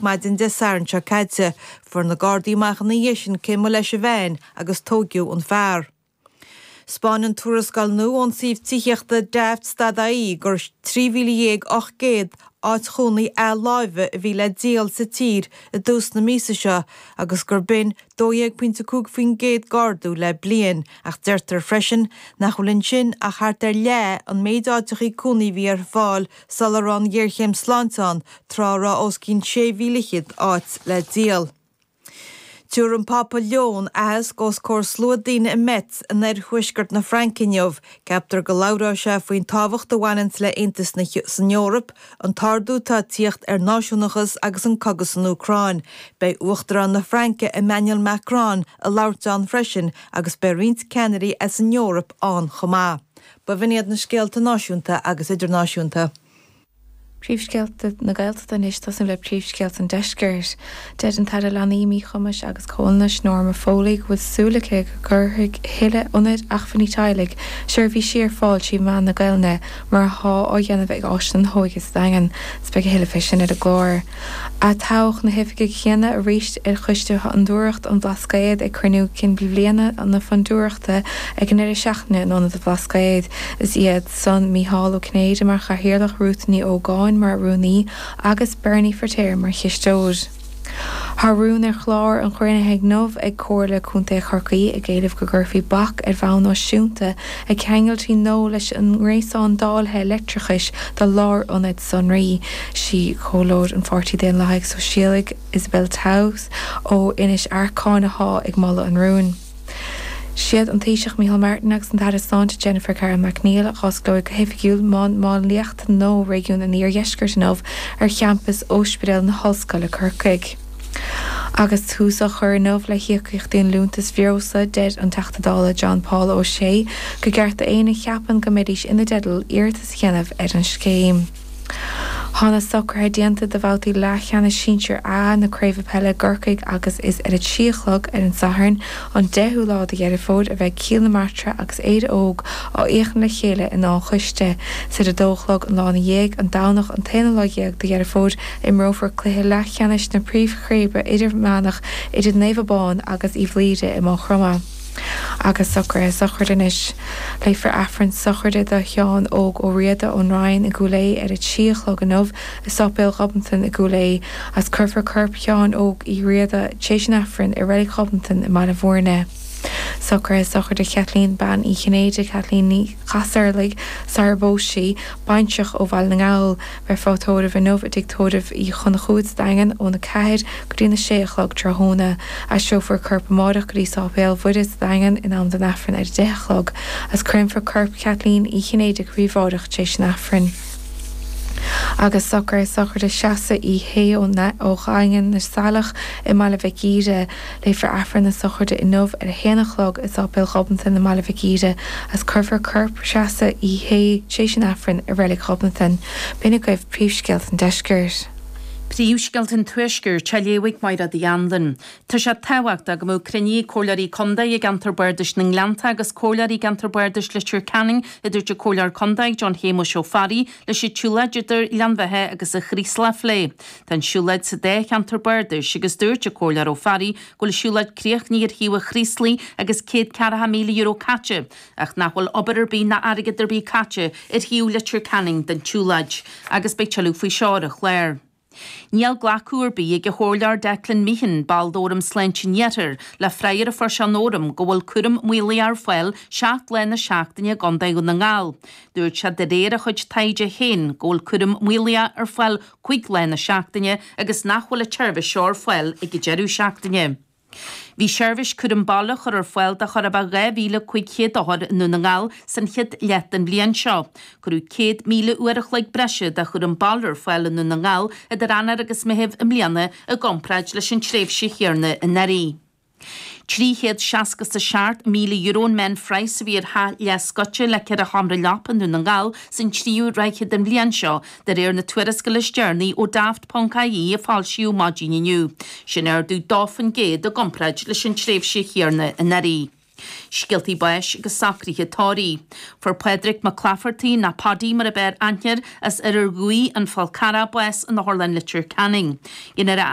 Maidin Dé Sathairn seo caite, fuair na Gardaí amach ina dhiaidh sin cé mba leis an veain agus tóigeadh an fear. 'Spáineann tuarascáil nua ón suíomh tithíochta Daft.ie gur 13,800 áit chónaí athláimhe a bhí le díol sa tír i dtús na míosa seo agus gur b'in 12.5% d'ardú le bliain ach deirtear freisin nach bhfuil ansin ach thart ar leath an méid áiteachaí cónaí a bhí ar fáil sula raibh an ghéarchéim sláinte ann, tráth a raibh os cionn 16,000 áit le díol. Tabharfaidh an Pápa Leon aitheasc os comhair slua daoine i Metz in oirthuaisceart na Fraince inniu. Ceaptar go labhróidh sé faoin tábhacht a bhaineanns le haontas san Eoraip, an t-ardú atá ag tíocht ar náisiúnachas agus an cogadh san Úcráin. Beidh Uachtarán na Fraince Emmanuel Macron ag labhairt ann freisin agus beidh roinnt ceannairí as an Eoraip ann chomh maith. B'in iad na scéalta náisiúnta agus idirnáisiúnta. Príomhscéalta na Gaeltachta anois, tosnú le príomhscéalta an Deiscirt. Deir an tAire Leanaí, Míchumais agus Comhionannais, Norma Foley, go bhfuil súil aici go gcuirfidh a thuilleadh ionaid acmhainní teaghlaigh seirbhísí ar fáil trí mheán na Gaelainne mar atá á dhéanamh ag Áislann na hÓige sa Daingean. Is beidh a thuilleadh fé sin ar an gclár. Atoghadh na hoifigigh chéanna arís ar Choiste Fhondúireacht an Bhlascaoid ag cruinniú cinn bhliana na Fondúireachta ag an ndeireadh seachtaine in Ionad an Bhlascaoid. Is iad san Mícheál Ó Cinnéide mar Chathaoirleach, Ruth Ní Ógáin mar Rúnaí agus Bernie Firtéar mar Chisteoir. Tá rún ar chlár an chruinnithe inniu ag Comhairle Contae Chorcaí ag éileamh go gcuirfí bac ar bhonn náisiúnta ag ceangailtí nó leis an ngréasán dáilthe leictreachais do lárionaid sonraí. Sí Comhairleoir an Pháirtí Daonlathaigh Sóisialaigh, Isabel Towse ó Inis Arcáin athá ag moladh an rúin. Siad an Taoiseach Micheál Martin agus an tAire Sláinte Jennifer Carroll MacNeill a dh'osclóidh go hoifigiúil Mol Máinliachta nua Réigiún an Iardheiscirt inniu ar champas Ospidéal na hOllscoile Corcaigh. Agus tús á chur inniu le híocaíochtaí an Liúntais Bhreosla, deir an Teachta Dála John Paul O'Shea gur ceart d'éinne a cheapann go mbeidís ina dteideal iarratas a dhéanamh ar an scéim. Tá na socruithe déanta do bhabhtaí leathcheannais Sinsir A na Craoibhe Peile i gCorcaigh agus is ar a 3 a chlog ar an Satharn, an 10ú lá de Dheireadh Fómhair, a bheidh Cill na Martra agus Éire Óg á fhéachaint le chéile in Áth an Choiste. Is ar a 2 a chlog an lá ina dhiaidh, an Domhnach an t-aonú lá dhéag de Dheireadh Fómhair, imreofar cluiche leathcheannais na Príomhchraoibhe Idirmheánach idir Naomh Abán agus Uíbh Laoire i Maigh Chromtha. Agus socruithe sochraide anois. Léifear Aifreann sochraide do Sheán Óg Ó Riada ón Rinn i gCúil Aodha ar a 3 a chlog inniu i Sáipéal Ghobnatan i gCúil Aodha agus cuirfear corp Sheáin Óg Uí Riada tar éis an Aifrinn i Reilig Ghobnatan i mBaile Bhúirne. Socruithe sochraide Chaitlín Bean Uí Chinnéide, Caitlín Ní Chasarlaigh, sarar phós sí, baintreach ó Bhaile na nGall. Beifear á tórramh inniu i dTigh Tórraimh Uí Chonchúir sa Daingean óna 4 go dtí na 6 a chlog tráthnóna. Aistreofar a corp amáireach go dtí Sáipéal Mhuire sa Daingean in am don Aifreann ar a 10 a chlog agus créamfar corp Chaitlín Uí Chinnéide go príobháideach tar éis an Aifrinn. Agus socruithe sochraide Threasa Uí Shé ó Dhaingean na Saileach i mBaile Mhic Íre. Léifear Aifreann na sochraide inniu ar a haon a chlog i Sáipéal Ghobnatan i mBaile Mhic Íre agus cuirfear corp Threasa Uí Shé tar éis an Aifrinn i Reilig Ghobnatan. B'in agaibh príomhscéalta an deiscirt. Príomhscéalta an Tuaiscirt á léamh ag Máire Uí Anluain. Tá sé tábhachtach go mbeadh cruinnithe ag Comhairleoirí Contae i gceantar Bardais na nGleannta agus Comhairleoirí i gceantar Bardais Leitir Ceanainn, a dúirt an Comhairleoir Contae John Shéamuis Ó Fearraigh, leis an tsiúlóid idir Gleann Bheatha agus an Chraoslach a phlé. Tá an siúlóid sa dá cheantar bardais agus dúirt an Comhairleoir Ó Fearraigh go bhfuil an siúlóid críochnaithe ar thaobh an Chraoslaigh agus €140,000 caite ach nach bhfuil obair ar bith ná airgead ar bith caite ar thaobh Leitir Ceanainn den tsiúlóid agus beidh tuilleadh faoi seo ar an chlár. Níl glacadh ar bith ag an Chomhairleoir Declan Meehan, ball d'Fhóram Sláinte an Iarthair, le freagra a fuair sé ón Fhóram go bhfuil cúram maolaithe ar fáil 7 lá na seachtaine i gContae Dhún na nGall. Dúirt sé de réir a chuid taighde féin go bhfuil cúram maolaithe ar fáil 5 lá na seachtaine agus nach bhfuil an tseirbhís seo ar fáil ag an deireadh seachtaine. Bhí seirbhís cúram baile á chur ar fáil do chóir a bheith 2,500 othar i nDún na nGall san chéad leath den bhliain seo. Cuireadh 100,000 uair a chloig breise de chúram baile ar fáil i nDún na nGall idir Eanáir agus Meitheamh i mbliana i gcomparáid leis an tréimhse chéanna anuraidh. €367,000 an meánphraghas a bhí ar theach leathscoite le ceithre sheomra leapa i nDún na nGall san tríú ráithe den bhliain seo, de réir na tuarascála is deireanaí ó Daft.ie a foilsíodh maidin inniu. Sin ardú 2% i gcomparáid leis an tréimhse chéanna anuraidh. Scéaltaí báis agus socruithe tórraimh. Fuair Pádraig Mac Laifeartaigh, nó Paddy mar ab fhearr aithne air, as Iarthar Dhuibhigh, An Fál Carrach, bás in Otharlann Leitir Ceanainn. Dhéanfar a.